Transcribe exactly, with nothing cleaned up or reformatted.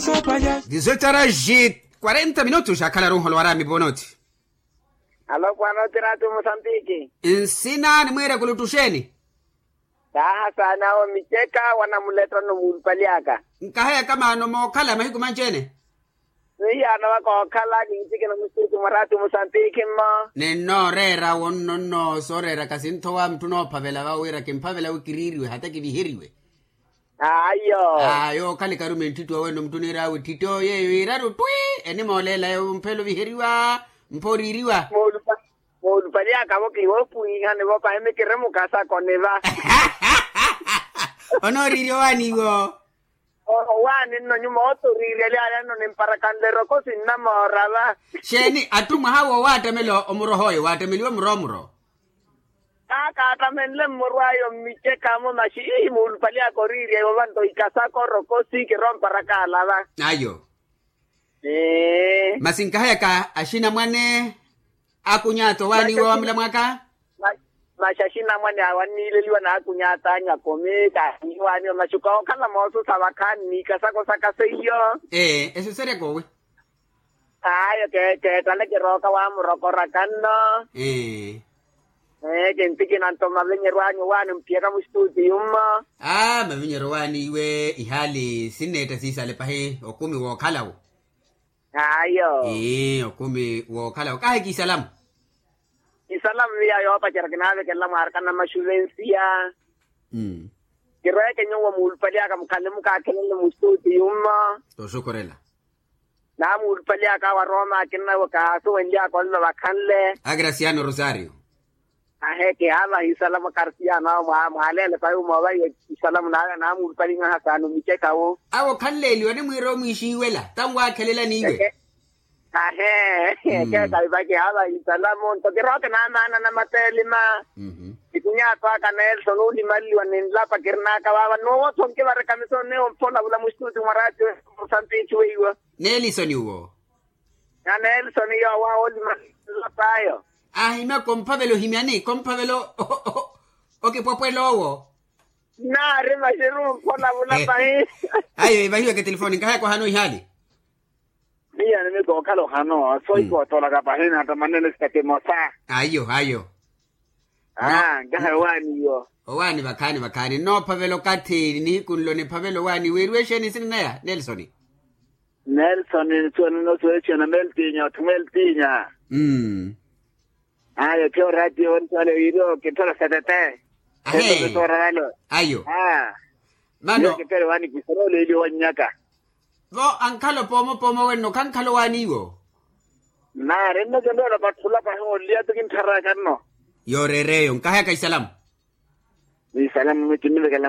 Dix-huit horas e quarenta minutos akhala runholo waraami ponothi. Alo pwanoti ratu musambiki. Nsina nimwiira kulutuxeeni? Taaha saana awo micheka wanamulettano muulupali aka. Nkaheyaka maano mookhala mahiku manci-ene. Nihiyaano waka ookhala kintikina mustuti mwaratu musambiki mmo. Ninnooreera wonno nnoosoreera kasinthowa muttu noophavela vawiira kimphavela wi kiriiriwe hata kiviheriwe. Ayo. Ayo okhalika rume ntthittu awenno muttu niiraawe tthitto yeeyo iiraru twi. Enimooleela eyo mphelo viheriwa mpho oriiriwa. Moolupali akavo kiwoopwiihani vo pahi mikiri mukasakoni va. Onooriirya owaani iwo. Owaani nno nyuma otoriirya lyaaya nno nimparakanle eroko sinnamoora va. Xeeni atthu mwaha woowattamela omuroh'oyo waattameliwe muro muro. Kaakaatamenle mmurw'ayo mmichekamo maxi ihi muulupali aka oriirya iwo vanto ikasaka orokosi kiromparak'ala va. Ayo. Masi nkaheyaka axinamwane. Akuny'ata owaaniwa wa mulamw'aka. Maxi axinamwane awo anniileliwa n'akuny'ata anyu akumi kaaniwaaniwa maxi kookhala moosusa vakhaani n'ikasako saka seiyo. Ee esuseryaka owi. Ayo keettale kirooka waamurokoraka nno. Ee kintikina nto mavinyeryo anyu owaani mphiyaka mustuti yummo. Aa mavinyeryo owaani iwe ihaali sinneetta siisale pahi okumi wookhalawo. Ayo. Ii okumi wookhalawo kahi kiisalamu. Isalamu miya yoopacerya kinaavekelela mwaaraka namaxuvensiya. Kirweeke nyuwo muulupali aka mukhale mukaakhelenle mustuti yummo. Tooxukhurela. Naamuulupali aka awo arooma akinnawe kaasuwenly'aka onlo vakhanle. Akirasiyano rosario. Ahe kihaavaha isalamu akarasiyano awo mwaaleele pahi omoovaiwa isalamu naamuulupali nhaha saana omicheka wo. Awo khanleeliwa nimwiira omwiixiiwela tanwaakhelela niiwe. Ahe keekaiva kihaavaha isalamu nto kirooke naamaana namateelima. Kikunyaatw'aka nelson oolimalliwa ninlapa kirin'aka vaava nnuwo otho nkivareka misono neyo mpholavula mustuti mwa raatiyo. Musampiithi weiwa. Nelisoni uwo. Na nelisoni yoowa oolimalliwa ninlap'ayo. Ahimya komphavela ohimyani komphavela okipwepwela owo. Naari maxiru mpholavula pahi. Ayo evahiweke telefoni nkahayaka ohano ihaali. Miyo nimikookhala ohano soohikootolaka pahi natamanene sitaki mosa. Ayo ayo. Aa nkaha owaani iwo. Owaani vakhaani vakhaani nnoophavela okathi nihiku nlo niphavela owaani weeriwe exeeni nsina naya nelsoni. Nelsoni nsuwa ninosuwa exeeni meltinya othi meltinya. Ayo kheyo raatiyo wentwale wiiriwo kinthola setete. Ahe. Ayo. Mano kipele waani kisaroolo eliyo wannyaka. Vo ankhala opoomo opoomo wenno khankhala owaani iwo. Naari nno kinroolo patthula pahi onliya ti kinttharaaka nno. Yooreera eyo nkahayaka isalamu. Isalamu mitti nnivekela.